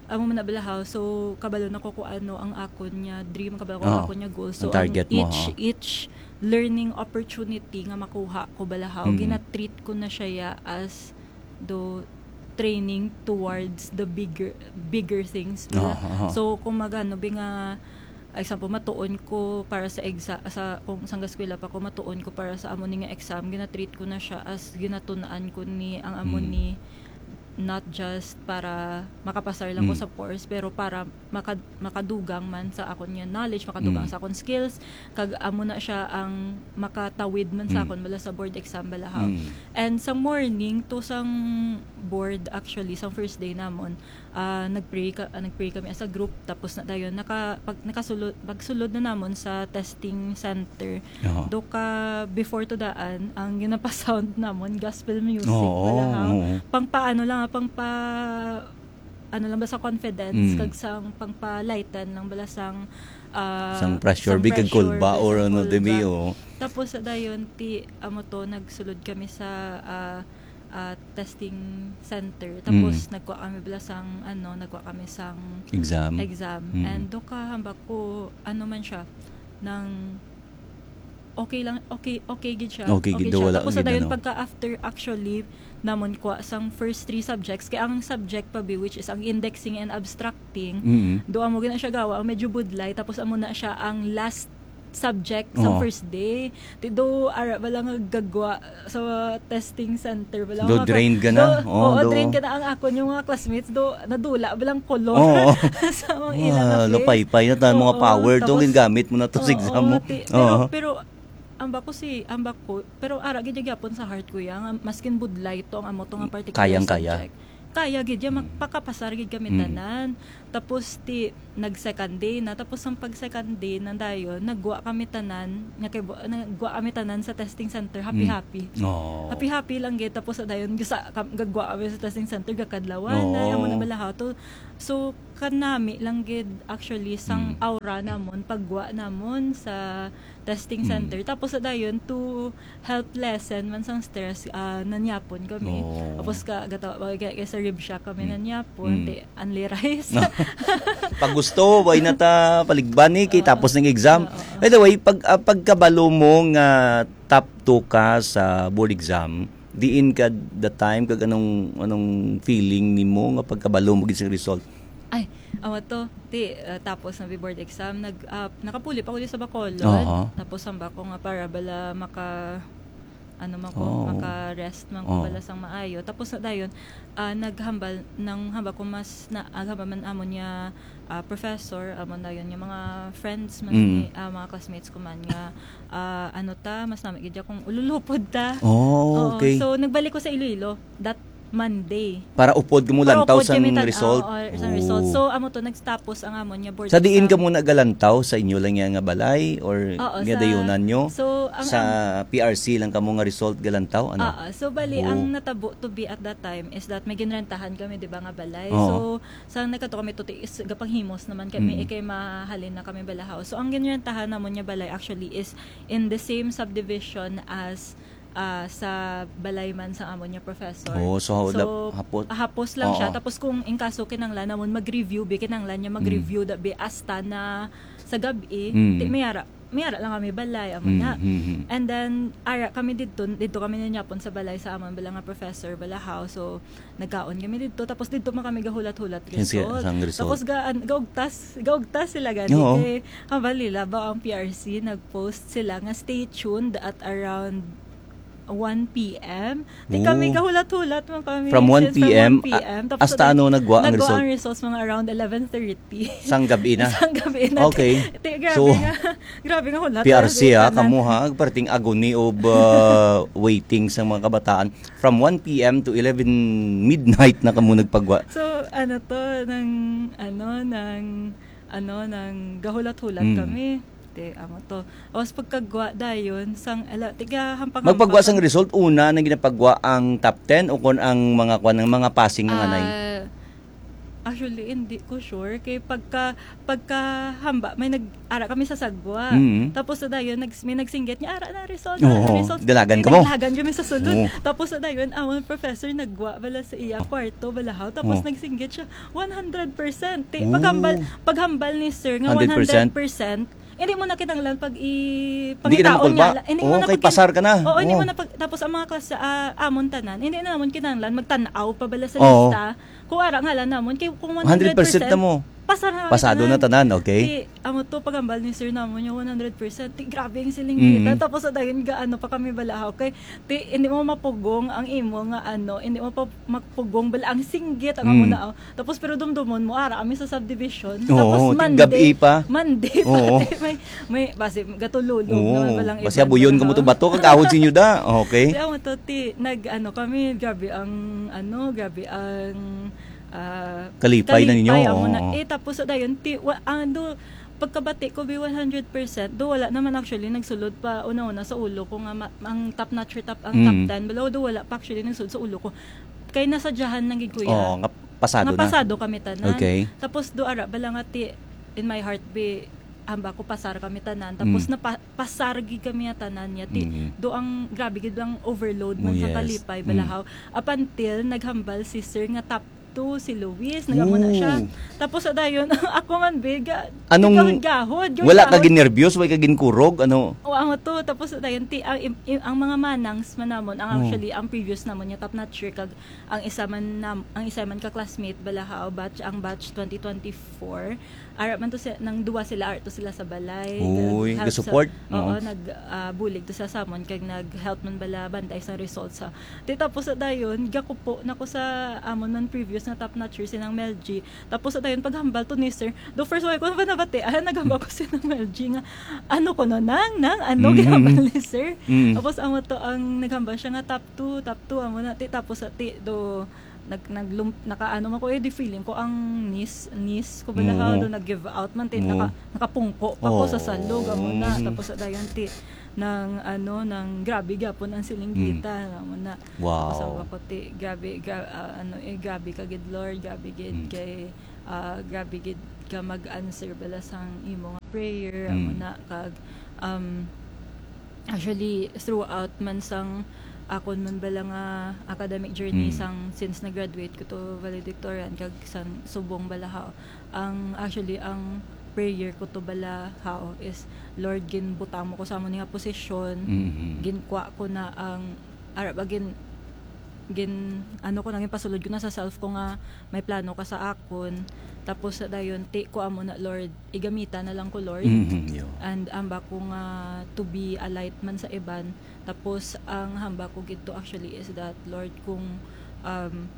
amo man na balahaw, so kabalo na ko kung ano ang akon niya dream, kabalo ko Oo. ang akon niya goal. So Ang target ang mo, each oo. each learning opportunity nga makuha ko balahaw, Mm. gina-treat ko na siya ya as do training towards the bigger bigger things bala. Oo, oo. So kung magano bi nga example, matuon ko para sa exam, sa kung sang eskwela pa ko, matuon ko para sa amo ni nga exam, gina-treat ko na siya as ginatun-an ko ni ang amo Mm. ni, not just para makapasar lang ko Mm. sa course, pero para maka, makadugang man sa akon nga knowledge, makadugang Mm. sa akon skills, kag amo na siya ang makatawid man sa Mm. akon bala sa board exam balahaw. Mm. And sa morning to sang board, actually, sang first day namon, ah, nagpray ka, ah, nagpray kami as a group, tapos na dayon naka pag, nakasulod, pagsulod na namon sa testing center. Oo. Do ka before to daan, ang ginapasound namon gospel music Oo, balahaw. Oo. Pang paano lang, ah, pang pa ano lang ba sa confidence, Mm. kag sang pang pa-lighten lang bala sang, ah, Sang pressure, sang big kag pressure, kulba kag or sang ano, kulba. Demi, oo. Tapos sa dayon ti amo to, nagsulod kami sa, ah, ah, testing center. Tapos Mm. nagkuha kami bala sang ano, nagkuha kami sang Exam. exam. Mm. And do ka hambak ko ano man siya, nang okay lang, okay, okay gid siya. Okay gid, siya. wala Tapos gid, sa dayon ano. Pagka after, actually, namon kuha sang first three subjects, kay ang subject pa bi, which is ang indexing and abstracting, Mm. do amo gina siya gawa, ang medyo budlay, tapos amo na siya ang last subject sa Oo. first day. Ti do ara ba lang nga gagwa sa testing center ba lang Do nga ka- drained ka na? Do, Oo, oo, do. Drained ka na. Ang ako yung mga classmates do nadula ba lang color Oo. sa mga Ah, ilang face. lupay-pay na tayo, mga Oo, power to, tapos- gamit mo na to sa Oo, exam mo. ti- pero, Oo. pero ang bako si, ang bako, pero ara gid gyapon sa heart ko ya nga maskin budlay to ang amo to nga particular Kayang-kaya. Subject. Kaya gid ya, Mm. magpakapasar gid kami Mm. tanan. Tapos ti nag second day na, tapos ang pag second day na dayon, nagwa kami tanan, nga kay bu- nagwa kami tanan sa testing center, happy-happy. Oo. Happy-happy lang gid, tapos sa dayon gasa kam- gagwa kami sa testing center, gakadlawan na, Oo. amo na balahaw to. So kanami lang gid actually sang Mm. aura namon, pagwa namon sa testing Mm. center. Tapos sa dayon to help lessen man sang stress, ah, nanyapon kami. Oo. Tapos ka gata kay, kay sa rib shack kami Mm. nanyapon, Mm. ti unli rice. Pag gusto, way na ta paligbani kay Oo. tapos ng exam. Oo. By the way, pag ah, pagkabalo mo nga top two ka sa board exam, diin ka the time kag anong anong feeling nimo nga pagkabalo mo gid sa result? Ay, amo to. Ti, ah, tapos na bi board exam, nag ah, nakapuli pa ko di sa Bacolod. Aha. Tapos hamba ko nga para bala maka ano man ko, Oh. maka-rest man ko Oh. bala sang maayo. Tapos na dayon, ah, naghambal, nang hambal ko mas na, ah, hambal man amon nga, ah, professor, amon dayon nga mga friends man Mm. ni, ah, mga classmates ko man nga, ah, ano ta, mas nami gid kung ululupod ta. Oh, Oo, okay. so nagbalik ko sa Iloilo that Monday. Para upod ka mo Para lantaw upod sang kami tan-, result? oo, sang result. Oh. So, amo to, nagtapos ang amon nga board Sa diin exam. ka mo nagalantaw? Sa inyo lang nga, nga balay? Or Oo, nga sa dayunan nyo? So, ang Sa am- P R C lang kamo nga result galantaw? Ano? Oo. So, bali, Oo. ang natabo to be at that time is that may ginrentahan kami, di ba, nga balay. Oo. So, sa nagkadto kami to, is gapanghimos naman kami, Mm. eh, kay mahalin na kami balahaw. So, ang ginrentahan namon nga balay actually is in the same subdivision as, ah, sa balay man sa amon nga professor. Oo, so, So, dap-, hapos. hapos lang siya. Oo. Tapos kung in kaso kinanglan namon mag-review, bi, kinanglan niya Mm. mag-review da, bi, hasta na sa gab-i, Mm. ti-, may ara, may ara lang kami balay, amo Mm, na. mm, mm. And then, ara kami didto, didto kami ninyapon sa balay sa amon bala nga professor, balahaw. So, nagkaon kami didto. Tapos didto man kami gahulat-hulat Yung si-, result. sang result. Tapos ga-, an-, gaugtas, gaugtas sila gani. Oo. Kay, hambal nila ba ang P R C, nag-post sila nga stay tuned at around one P M. Di Oo. kami gahulat-hulat man kami From since from one P M, one P M. a-, Tapos hasta nag-, ano nagwa ang nagwa result? ang results mga around eleven thirty. Sang gabi na? Sang gabi na. Okay. Ti, grabe So, nga, grabe nga hulat P R C, ang ah, resulta na. kamo, ha? Perting agony of, uh, waiting sa mga kabataan. From one P M to eleven midnight na kamo nagpagwa. So, ano to, nang, ano, nang, ano, nang gahulat-hulat Mm. kami. Te, amo to. Tapos pagkagwa dayon, sang, ala, tiga hampang-hampang Magpagwa sang kami. result, una na ginapagwa ang top ten o kon ang mga kwan, ang mga passing nga anay? Ah, actually, hindi ko sure. Kay pagka, pagka hamba, may nag-, ara kami sa sagwa. Mm. Tapos sa dayon, nags-, may nagsinggit niya, "Ara na result, ara na Oo, result." dalagan May ka mo. naglagan kami sa sulod. Oo. Tapos sa dayon, amon professor nagwa bala sa iya kwarto, balahaw. Tapos Oo. nagsinggit siya, "One hundred percent." Ti, Oo. paghambal, paghambal ni sir nga Hundred percent? one hundred percent, hindi mo na kinahanglan pag i-, Hindi ka na pangitaon makulba? niya la-, hindi mo Oo, na kay pag-, pasar ka na. oo, hindi Oo. mo na pag-, tapos ang mga klase, ah, amon tanan, hindi na naman kinahanglan magtan-aw pa bala sa Oo. lista. Kung ara nga lang namon, kay kung Hundred percent na mo. pasar na kami Pasado na tanan. tanan, okay? Ti, amo to, paghambal ni sir namon yung one hundred percent. Ti, grabe yung siling Mm. kita. Tapos sa dayon, ga-, ano pa kami bala, okay? Ti, hindi mo mapugong ang imo nga, ano, hindi mo pa mapugong bala ang singgit, ang amo Mm. na, oh. Tapos pero dumdumon mo, ara kami sa subdivision. Oo, Tapos ti-, Monday, gabi pa. Monday pa, Oo. ti, may, may, basi, gatululog Oo, naman balang basi iban abuyon na, ka mo to no? bato, kag ahod sinyo da. Okay. Ti, amo to, ti, nag, ano kami, grabe ang, ano, grabe ang, ah, Kalipay na ninyo, kalipay, amo na. oo. Eh, tapos sa dayon, ti, wa-, ang do, pagkabati ko, bi, one hundred percent, do, wala naman actually nagsulod pa una-una sa ulo ko nga ma-, ang top notcher, top, ang top Mm. ten, bala, do, wala pa actually nagsulod sa ulo ko. Kay nasadyahan lang gid, kuya. Oo, nga pasado Nga na. pasado kami tanan. Okay. Tapos do ara bala nga ti, in my heart, bi, hamba ko pasar kami tanan. Tapos Mm. napa-, pasar gid kami nga tanan niya. Ti, Mm. do ang grabe gid ang overload man Oh, sa yes. kalipay, Mm. balahaw. Up until naghambal si sir nga top two si Luis, nagamo na siya. Ooh. Tapos sa dayon, ako man, bi, ga-, Anong gahod-gahod, wala ka gahod-gahod. ginerbyos, wala ka ginkurog, ano? O, ang to, tapos sa dayon, ti, ang, im-, im-, ang mga manangs man namon, ang Oh. actually, ang previous namon niya, top notcher, kag ang isa man nam-, ang isa man ka classmate, balahaw, batch, ang batch twenty twenty-four. Ara man to si-, nang duwa sila, ara to sila sa balay. Uy, Nag-help sa, ga-support? oo, Oo. nag, ah, bulig to sa samon, kag nag-help man bala bantay sa results sa. Ti tapos sa dayon, gakupo na ko sa amon man previous nga top notcher, si Nang Mel G. Tapos sa dayon, paghambal to ni sir. The first one ko na ba nabati, ah, naghambal ko si Nang Mel G nga, "Ano ko no, Nang, Nang, ano Mm. ginhambal ni sir?" Mm. Tapos amo to ang naghambal siya nga top two, top two, amo na, ti, tapos sa, ti, do, nag-, naglum-, nakaano man ko, eh, di feeling ko ang knees, knees ko ba Oo. naka-, do, nag-give out man, ti, Oo. naka-, nakapungko pa ko sa Oo. salog, amo na. Mm. Tapos sa dayon, ti, nang, ano, nang grabe gyapon ang silinggita, Mm. amo na. Wow. Tapos ako, ti, grabe, gra-, ah, ano, eh, grabe ka gid, Lord, grabe gid Mm. kay, ah, grabe gid ka mag-answer bala sang imo nga prayer, amo Mm. na, kag, um, actually, throughout man sang akon man bala nga academic journey Mm. sang since nag-graduate ko to valedictorian kag sang subong bala ha, ang, actually, ang prayer ko to bala ha is, "Lord, ginbutang mo ko sa amo ni nga posisyon, Mm-hmm. ginkwa ko na ang, ara ba, gin-, gin ano ko na, ginpasulod ko na sa self ko nga may plano ka sa akon. Tapos sa dayon, ti ko amo na, Lord, igamita na lang ko, Lord. Mhm, yo. And hamba ko nga to be a light man sa iban. Tapos ang hamba ko gid to actually is that, Lord, kung, um,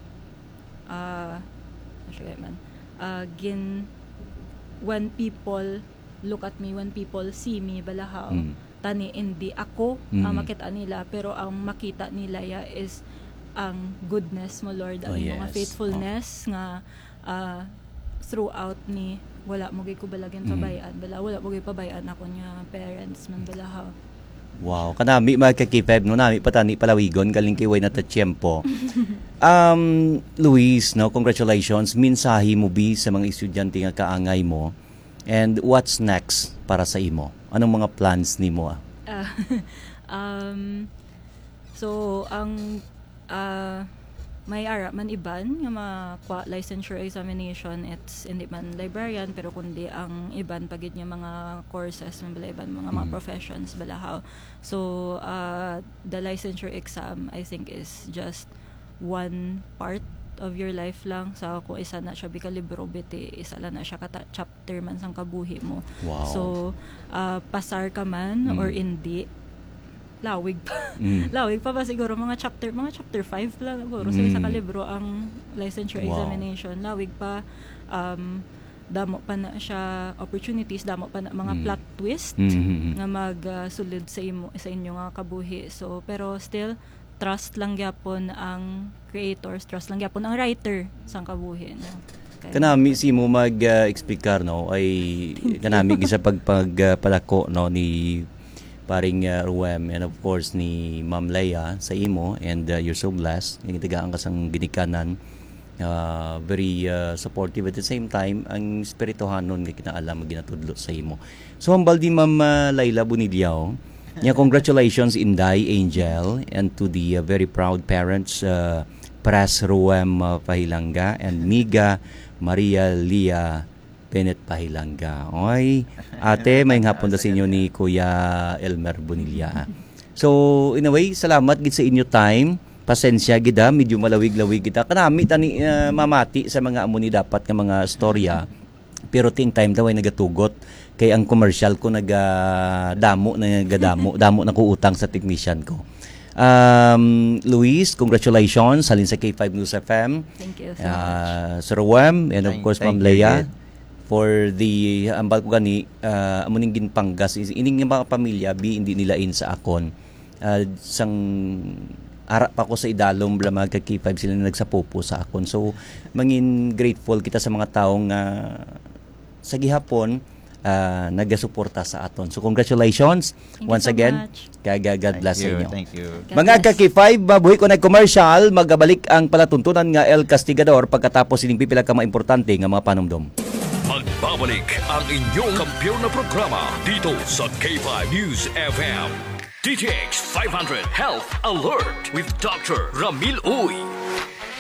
ah, ano siya man, ah, gin when people look at me, when people see me, balahaw, Mm. tani hindi ako ang Mm. makita nila, pero ang makita nila ya is ang goodness mo, Lord, Oh, ang imong yes. faithfulness nga, ah, throughout ni wala mo gid ko bala Mm. ginpabay-an, bala, wala mo gid pabay-an ako nga parents man, balahaw. Wow, kanami, mga ka-K five, no? Nami pa tani palawigon, galing kay way na ta tiyempo. Um, Luis, no, congratulations. Mensahe mo bi sa mga estudyante nga kaangay mo? And what's next para sa imo? Anong mga plans nimo, ah? Ah, um, so, ang, ah, may ara man iban nga makuha licensure examination, it's hindi man librarian, pero kundi ang iban pa gid nga mga courses, man bala iban mga, mga Mm. professions, balahaw. So, ah, the licensure exam, I think, is just one part of your life lang. Sa kung isa na siya bi ka libro, biti, isa lang na siya ka ta-, chapter man sang kabuhi mo. Wow. So, ah, pasar ka man Mm. or hindi, lawig pa. Mm. Lawig pa ba siguro mga chapter, mga chapter five lang siguro sa isa ka Mm. libro ang licensure Wow. examination. Lawig pa, um, damo pa na siya opportunities, damo pa na mga Mm. plot twist Mm, mm, mm. nga mag, ah, sulod sa imo, sa inyo nga kabuhi. So, pero still, trust lang gyapon ang creators, trust lang gyapon ang writer sang kabuhi, no? Kay Kanami si mo mag, ah, explicar, no, ay kanami gid sa pag, pag, ah, palako, no, ni paring, ah, Ruem, and of course ni Ma'am Leia sa imo, and, ah, you're so blessed. Yung tagaan ka sang ginikanan, ah, very, ah, supportive. At the same time, ang espirituhanon nga kinaalam nga ginatudlo sa imo. So, hambal di Ma'am, ah, Laila Bonilla, oh. Nya, congratulations, Inday Angel, and to the, uh, very proud parents, uh, Pres Ruem, uh, Pahilanga and Miga Maria Lia Bennett Pahilanga. Oy, ate, may hapon da sa inyo ni Kuya Elmer Bonilla. So, in a way, salamat gid sa inyo time. Pasensya gid, ha, medyo malawig-lawig kita. Kanami tani, uh, mamati sa mga amo ni dapat nga mga storya. Pero ting time daw ay nagatugot. Kay ang commercial ko naga-, damo, nagadamo, damo na ko utang sa technician ko. Um, Luis, congratulations. Halin sa K five News F M. Thank you so Ah, much. Sir Wem, and of Thank, course, thank Ma'am you, Leia, Jed. for the, ambal ko gani, ah, amo ning ginpanggas. Is, ining mga pamilya, bi, hindi nila in sa akon. Ah, sang ara pa ko sa idalom, bala mga ka-K five, sila na nagsapupo sa akon. So, mangin grateful kita sa mga tawo nga sa gihapon, ah, nagasuporta sa aton. So, congratulations Thank you once so again. much. Kag, ah, God Thank bless sa you, inyo. thank you. God Mga bless. ka-K five, mabuhi ko na commercial, magabalik ang palatuntunan nga El Castigador pagkatapos sining pipila ka mga importante nga mga panumdom. Magbabalik ang inyong kampiyon na programa dito sa K five News F M. D T X five hundred Health Alert with Doctor Ramil Uy.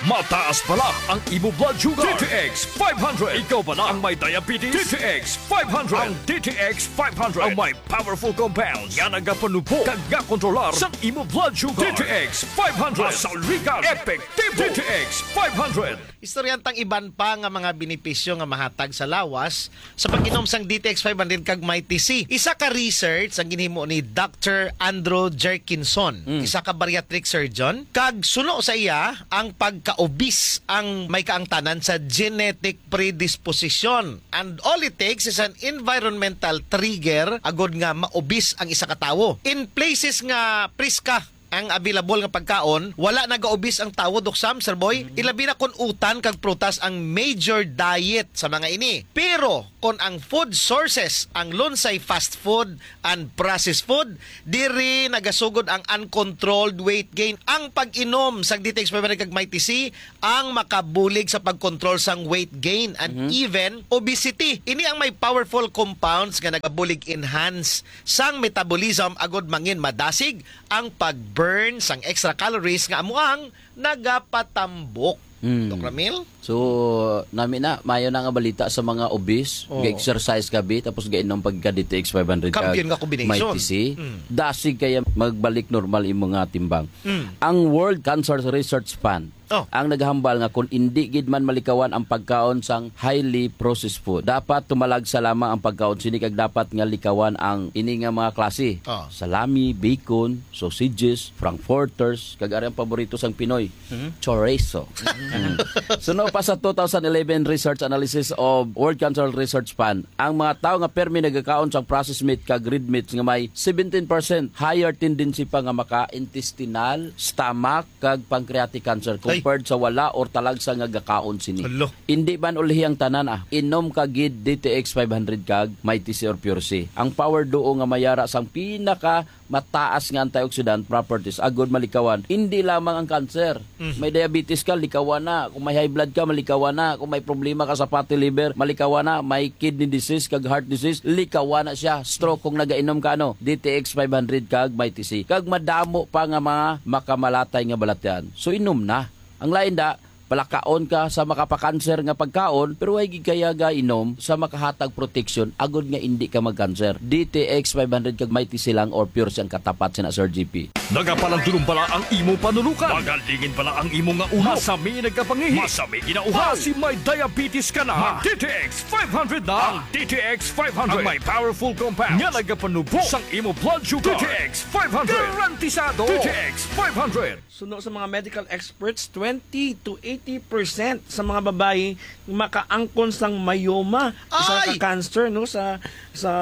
Mataas bala ang imo blood sugar. D T X five hundred. Ikaw bala ang may diabetes? D T X five hundred. Ang D T X five hundred ang may powerful compounds nga nagapanubo kag nga kontrolar sa imo blood sugar. D T X five hundred. Masaligan. Epektibo. D T X five hundred. Istoryahan tang iban pa nga mga benepisyo nga mahatag sa lawas sa pag-inom sang D T X five hundred kag Mighty C. Isa ka research ang ginhimo ni Doctor Andrew Jerkinson, Mm. isa ka bariatric surgeon, kag suno sa iya, ang pagka-obese ang may kaangtanan sa genetic predisposition. And all it takes is an environmental trigger agod nga ma-obese ang isa ka tawo. In places nga priska ang available nga pagkaon, wala naga-obese ang tawo, Doc Sam, Sir Boy. Mm. Ilabi na kon utan kag prutas ang major diet sa mga ini. Pero kon ang food sources, ang lunsay fast food and processed food, diri nagasugod ang uncontrolled weight gain. Ang pag-inom sa D T X five hundred kag Mighty C ang makabulig sa pag-control sang weight gain and Mhm. even obesity. Ini ang may powerful compounds nga nagabulig enhance sang metabolism agod mangin madasig ang pag-burn sang extra calories nga amo ang Nagapatambok. Mm. Doc Ramil? So, nami na, mayo na nga balita sa mga obese, Oo. Ga-exercise gabi, tapos gainom pag ka D T X five hundred kag Kampiyon nga combination. Mighty C. Mm. Dasig kaya magbalik normal imo nga timbang. Mm. Ang World Cancer Research Fund, Oh. Ang naghambal nga kung indi gid man malikawan ang pagkaon sang highly processed food, dapat tumalagsa lamang ang pagkaon sini kag dapat nga likawan ang ini nga mga klase. Oh. Salami, bacon, sausages, frankfurters, kag ari ang paborito sang Pinoy, Mhm. chorizo. Mhm. Suno pa sa two thousand eleven research analysis of World Cancer Research Fund, ang mga tawo nga permi nagakaon sang processed meat kag red meat nga may seventeen percent higher tendency pa nga maka-intestinal, stomach, kag pancreatic cancer Ay. compared sa wala or talagsa nga gakaon sini. Hala. Indi man ulhi ang tanan, ah. Inom ka gid D T X five hundred kag Mighty C or Pure C. Ang power duo nga mayara sang pinaka mataas nga antioxidant properties agud malikawan indi lamang ang cancer. Mhm. May diabetes ka, likawan na. Kung may high blood ka, malikawan na. Kung may problema ka sa fatty liver, malikawan na. May kidney disease kag heart disease, likawan na siya. Stroke kung nagainom ka, ano, D T X five hundred kag Mighty C. Kag madamo pa nga mga makamalatay nga balatian. So, inom na. Ang lain da, palakaon ka sa makapakanser nga pagkaon, pero way gid kaya gainom sa makahatag proteksyon agud nga indi ka magkanser. D T X five hundred kag Mighty C lang or Pure C ang katapat sina Sir G P. Nagapalandulong bala ang imo panulukan? Magalingin bala ang imo nga ulo? Masami nagkapangihi? Masami ginauhaw? Basi may diabetes ka na? Mag D T X five hundred na. Ang D T X five hundred ang may powerful compound nga nagapanubo sang imo blood sugar. D T X five hundred. Garantisado. D T X five hundred. Suno sa mga medical experts, twenty to eighty percent sa mga babayi makaangkon sang myoma, isa Ay! ka cancer, no, sa, sa,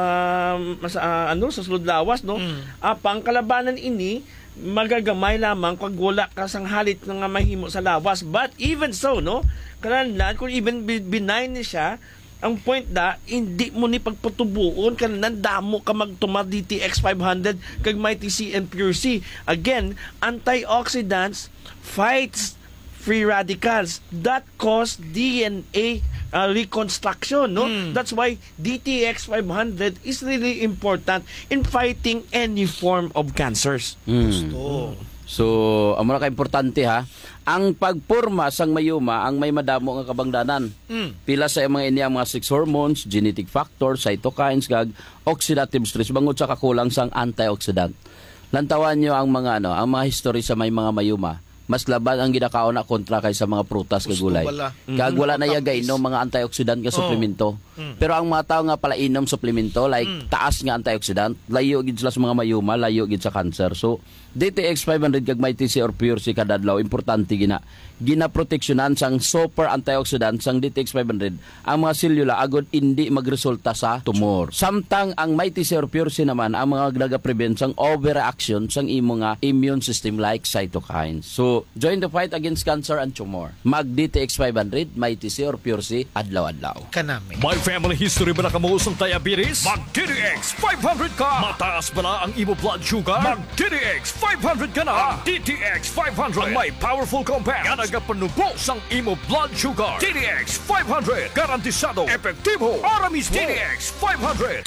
sa, ah, ano, sa sulod lawas, no? Mm. Apang kalabanan ini, magagamay lamang kag wala ka sang halit nga mahimo sa lawas. But even so, no, kananlan, kung even bi-, benign ni siya, ang point na, hindi mo ni pagpatubuon, kananlan damo ka magtumar D T X five hundred kag Mighty C and Pure C. Again, antioxidants fights free radicals that cause D N A, uh, reconstruction, no? Mm. That's why D T X five hundred is really important in fighting any form of cancers. Mm. Gusto. So, amo na ka importante, ha. Ang pagporma sang myoma ang may madamo nga kabangdanan. Mm. Pila sa mga ini ang mga sex hormones, genetic factors, cytokines, kag oxidative stress bangod sa kakulang sang antioxidant. Lantawan nyo ang mga, ano, ang mga history sa may mga myoma. Mas laban ang ginakaon na kontra kay sa mga prutas kag Gusto gulay. Pala. Kag Mhm. wala na iya Matamis. gainom mga antioxidant nga Oh. suplemento. Mm. Pero ang mga tawo nga palainom suplemento, like, Mm. taas nga antioxidant, layo gid sila sa mga myoma, layo gid sa cancer. So, D T X five hundred kag Mighty C or Pure C kada adlaw, importante gina, ginaproteksyonan sang super antioxidant sang D T X five hundred ang mga selula agud indi magresulta sa tumor. Samtang ang Mighty C or Pure C naman ang mga nagaprevent sang overreaction sang imo nga immune system, like cytokines. So, join the fight against cancer and tumor. Mag D T X five hundred, Mighty C or Pure C adlaw-adlaw. Kanami. May family history bala kamo sang diabetes? Mag D T X five hundred ka. Mataas bala ang imo blood sugar? Mag D T X five hundred ka na. Ang D T X five hundred ang may powerful compound nga nagapanubo sang imo blood sugar. D T X five hundred, garantisado, epektibo, para mismo. D T X five hundred.